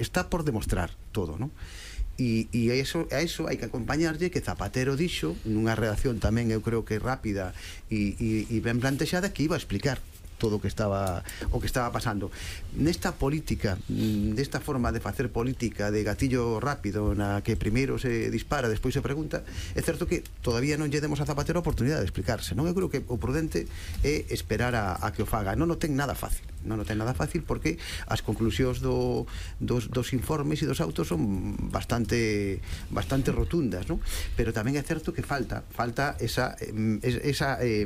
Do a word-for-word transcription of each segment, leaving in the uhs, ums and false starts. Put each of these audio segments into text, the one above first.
está por demostrar todo, non? E, e a, eso, a eso hai que acompañarlle que Zapatero dixo nunha redacción tamén eu creo que rápida e, e, e ben plantexada que iba a explicar todo o que estaba o que estaba pasando nesta política, desta forma de facer política de gatillo rápido na que primeiro se dispara, despois se pregunta. É certo que todavía non lle demos a Zapatero a oportunidade de explicarse, non? Eu creo que o prudente é esperar a, a que o faga. Non o ten nada fácil, non o ten nada fácil porque as conclusións do, dos, dos informes e dos autos son bastante bastante rotundas, non? Pero tamén é certo que falta falta esa esa eh,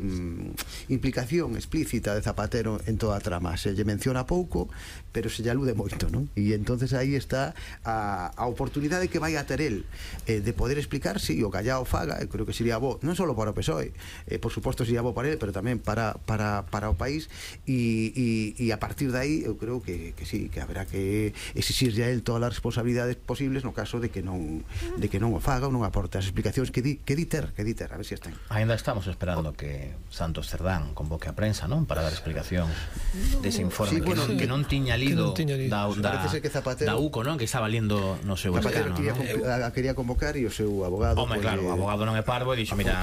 implicación explícita de Zapatero en toda a trama. Se lle menciona pouco, pero se lle alude moito, non? E entonces aí está a, a oportunidade que vai a ter el eh, de poder explicar si o Callao faga. Eu creo que sería bo, non só para o P S O E, eh, por suposto sería bo para ele, pero tamén para, para, para o país, e, e, e a partir de aí eu creo que, que sí, que haberá que exixirlle a el todas as responsabilidades posibles no caso de que non de que non o faga ou non aporte as explicacións que di, que di ter, que di ter, a ver se si están. Ainda estamos esperando que Santos Cerdán convoque a prensa, non? Para dar explicacións dese informe, sí, que, bueno, non, que non tiña lido, non tiña lido. Da, da, Zapatero, da U C O, non? Que estaba lindo no seu Zapatero escano, quería, non? quería convocar e o seu abogado... Home, claro, o abogado non é parvo e dixo, mira,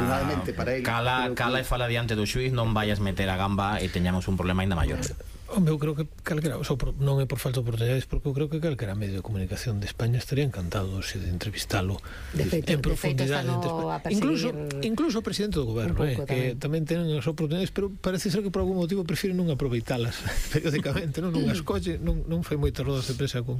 cala, cala e fala diante do xuiz, non vayas meter a gamba e teñamos un problema ainda maior. Home, eu creo que calquera, o sea, non é por falta de oportunidades, porque eu creo que calquera medio de comunicación de España estaría encantado de entrevistalo de feito, en profundidade. Incluso, incluso o presidente do goberno, eh, que tamén ten as oportunidades, pero parece ser que por algún motivo prefiren non aproveitalas periódicamente, non, non as colle, non, non fai moitas rodas de prensa con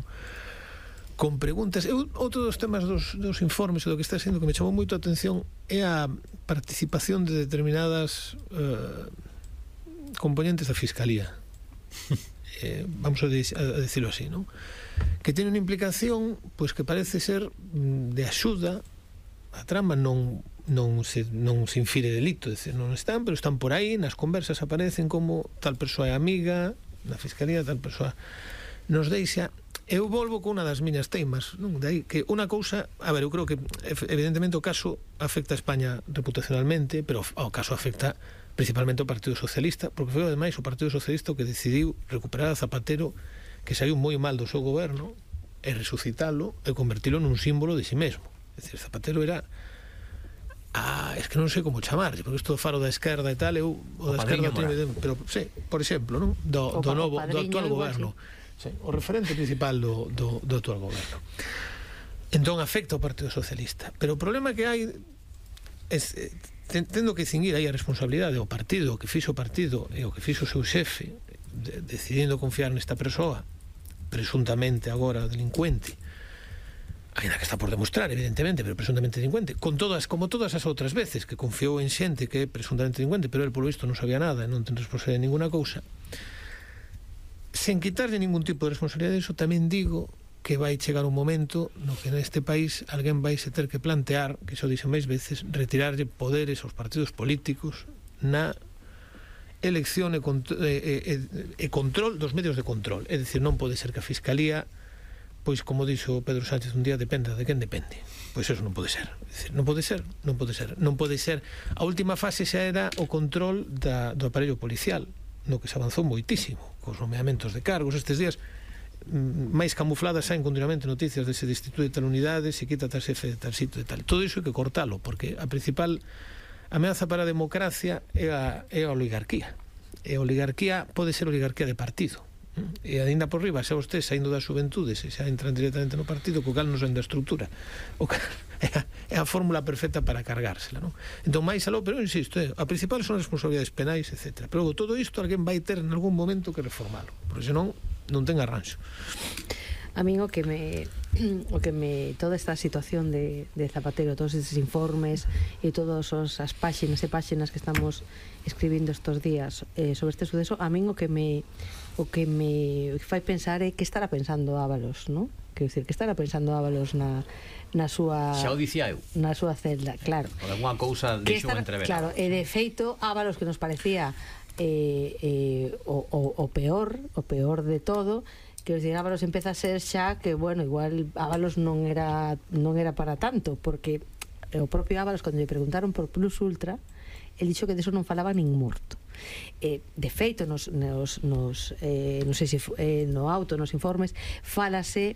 con preguntas. Eu, outro dos temas dos, dos informes e do que está sendo que me chamou moito a atención é a participación de determinadas uh, componentes da Fiscalía. Eh, vamos a, de, a decirlo así, ¿no? Que tiene unha implicación pois que parece ser de axuda a trama, non non se, non se infire delito, é dicir, non están, pero están por aí, nas conversas aparecen como tal persoa é amiga na Fiscalía, tal persoa nos deixa. Eu volvo con unha das miñas teimas, non? De aí que unha cousa, a ver, eu creo que evidentemente o caso afecta a España reputacionalmente, pero o caso afecta principalmente o Partido Socialista, porque foi ademais o Partido Socialista o que decidiu recuperar a Zapatero, que saiu moi mal do seu goberno, e resucitalo e convertilo nun símbolo de si mesmo. É dicir, Zapatero era a, es que non sei como chamarlle, porque isto do faro da esquerda e tal, eu o, o da esquerda tiene, pero sí, por exemplo, non? Do, do novo, do actual goberno, sí, o referente principal do, do, do actual goberno. Entón afecta ao Partido Socialista, pero o problema que hai é tendo que cinguir aí a responsabilidade do partido, o que fixo o partido e o que fixo o seu xefe, de, decidindo confiar nesta persoa presuntamente agora delincuente, ainda que está por demostrar evidentemente, pero presuntamente delincuente, con todas, como todas as outras veces que confiou en xente que é presuntamente delincuente, pero el polo visto non sabía nada e non ten responsabilidade de ninguna cousa, sen quitarlle ningún tipo de responsabilidade. Iso tamén digo que vai chegar un momento no que neste país alguén vai se ter que plantear, que iso dixen máis veces, retirarlle poderes aos partidos políticos na elección e, e, e, e control dos medios de control. É dicir, non pode ser que a Fiscalía, pois como dixo Pedro Sánchez un día, dependa de quen depende. Pois eso non pode ser. É dicir, non pode ser, non pode ser. Non pode ser. A última fase xa era o control da, do aparello policial, no que se avanzou moitísimo, cos nomeamentos de cargos. Estes días máis camufladas saen continuamente noticias de se destitue tal unidade, se quita tal xefe de tal sitio e tal. Todo iso hai que cortalo, porque a principal ameaza para a democracia é a, é a oligarquía. E a oligarquía pode ser oligarquía de partido. E ainda por riba, xa vostede saindo das xuventudes e xa entran directamente no partido, co cal non saen da estructura. O cal é a, é a fórmula perfecta para cargársela, non? Entón, máis aló, pero insisto, eh, a principal son as responsabilidades penais, etcétera. Pero todo isto alguén vai ter en algún momento que reformalo, porque senón non ten arranxo. A min o que me o que me toda esta situación de, de Zapatero, todos estes informes e todas as páxinas e páxinas que estamos escribindo estos días eh, sobre este suceso, a min o que me o que me fai pensar é que estará pensando Ábalos, non? Quero dicir, que estará pensando Ábalos na na súa xa o dicía eu, na súa celda, claro. Por alguna cousa deixou entrever. Claro, e de feito Ábalos, que nos parecía eh, eh, o, o, o peor, o peor de todo, que os Ábalos empeza a ser xa que, bueno, igual Ábalos non era non era para tanto, porque o propio Ábalos, cando lle preguntaron por Plus Ultra, el dixo que deso non falaba nin morto. Eh, de feito, nos, nos, nos, eh, non sei se eh, no auto, nos informes, fálase